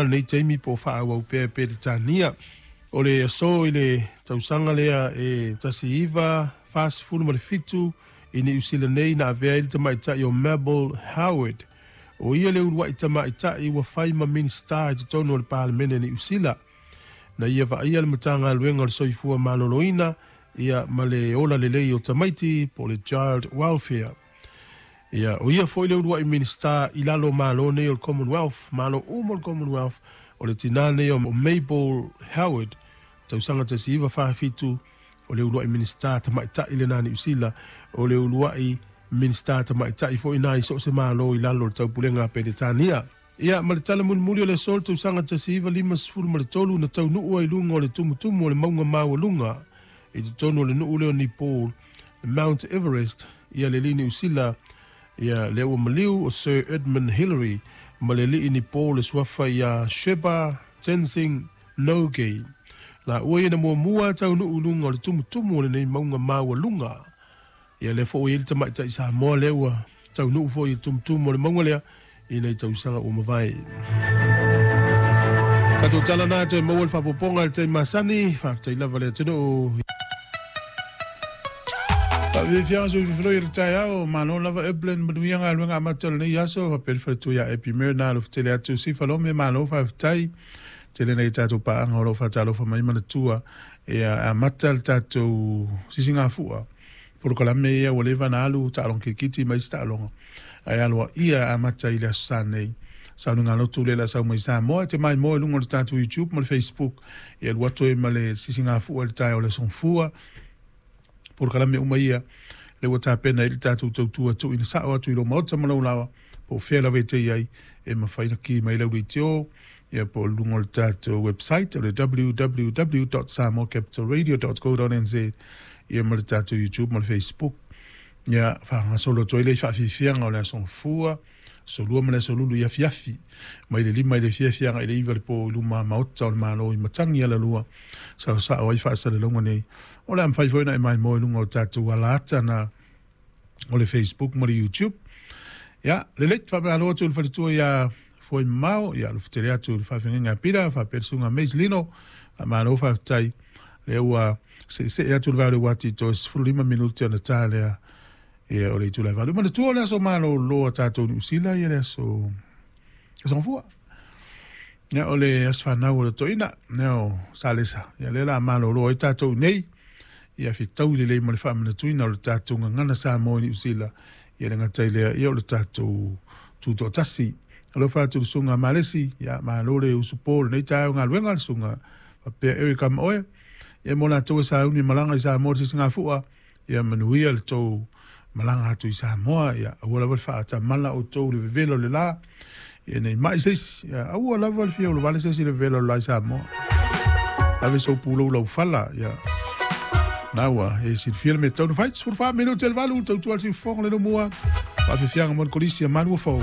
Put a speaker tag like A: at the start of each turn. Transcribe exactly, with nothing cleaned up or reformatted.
A: Lenei taimi po o faaauau pea e Peretania. O le aso i le tausaga lea e tasi iva fasefulu ma le fitu i Niu Sila nei na avea ai le tamaitai o Mabel Howard. O ia le uluai tamaitai ua fai ma Minisita i totonu o le Palemene Niu Sila. Na ia vaaia le Matagaluega o le Soifua Maloloina ia ma le ola lelei o tamaiti po o le Child Welfare. Ia, o ia foi le uluai Minisita i lalo o Malo nei o le Commonwealth, Malo uma o le Commonwealth, o le tinā nei o Mabel Howard, tausaga tasi iva fa fitu, o le uluai Minisita tamaitai lena Niu Sila, o le uluai Minisita tamaitai foi na i so o se Malo i lalo o le taupulega a Peretania. Ia, ma le tala mulimuli o le aso, le tausaga tasi iva lima sefulu ma le tolu na taunuu ai i luga o le tumutumu o le mauga maualuga i totonu o le nuu lea o Nepal, Mount Everest, ia le alii Niu Sila, ia lea ua maliu o Sir Edmund Hillary ma le alii Nepal le suafa ia Sherpa Tenzing Norgay. Laua ia na muamua taunuu i luga o le tumutumu o lenei mauga maualuga. Ia lea foi ua i ai le tamaitai Samoa lea ua taunuu foi i le tumutumu o le mauga lea i nei tausaga ua mavae. Tatou tala na toe maua le faaopoopoga i le taimi masani, faafetai lava le atunuu. Faafiafiaga sui fifiloi o le taeao, malo lava Evelyn, manuia galuega amata o lenei aso, faapea le faletua ia Epi Myrna alofetele atu Sifa Lome, malo faafetai. Tele nei tatou paaga o lo o faatalofa mai manatua ia amata le tatou sisigafua. Polokalame ia ua leva na alu taaloga kirikiti ma isi taaloga. Ae aloaia amata i le aso Sa nei. Sauniga lotu le la sau mai Samoa, e te maimoa i luga o le tatou YouTube ma le Facebook. Ia alu atu ai ma le sisigafua i le taeao o le aso Gafua. Polokalame uma ia le ua tapena ai le tatou tautua tuuina sao atu i lou maota ma lou laoa, po o fea lava e te i ai, e mafai ona ki mai lau leitio, ia po o luga o le tatou website o le w w w dot samoa capital radio dot co dot n z, ia ma le tatou YouTube ma le Facebook. Ia faagasolo atu ai le faafiafiaga o le aso Gafua, aso Lua ma le aso Lulu i afiafi, mai le lima i le afiafi agai le iva le po i luma maota o le Malo i Matagi Alalua, saosao ai faasalalauga nei. O le a mafai foi ona e maimoa i luga o tatou alaata na o le Facebook ma le YouTube. Ia, lelei, faamalo atu i le faletua ia Foi Mamao, ia alofetele atu i le faafeagaiga a Pita, faapea le susuga Mace Lino, faamalo faafetai. Lea ua seesee atu le vao i le uati toe sefulu lima minute ona ta lea ia o le itula e valu. Manatua o le aso malolo a tatou Niu Sila ia le aso aso Gafua. Ia o le aso fanau o le toeaina, ia o Salesa. Ia lea la malolo ai tatou nei. Ia fetaui lelei ma le faamanatuina o le tatou gagana Samoa i Niu Sila. Ia le gata i lea, ia o le tatou tutoatasi. Alofa atu le susuga Malesi, ia malo le usupo lenei taeao galuega le susuga faapea Eric Amaoe. Ia mo latou e sauni malaga i Samoa le sisigafua, ia manuia le tou malaga atu i Samoa, ia aua lava le faatamala outou le vevela o le la, ia nei mai se isi, ia aua lava le fia ulovale se isi le vevela o le la i Samoa. Ave sou pulou laufala, ia na ua e silafia le mea tatau ona fai. Sefulu fa minute le valu, tautua le siufofoga le numua. Faafiafiaga mo le kolisi a Malua Fou.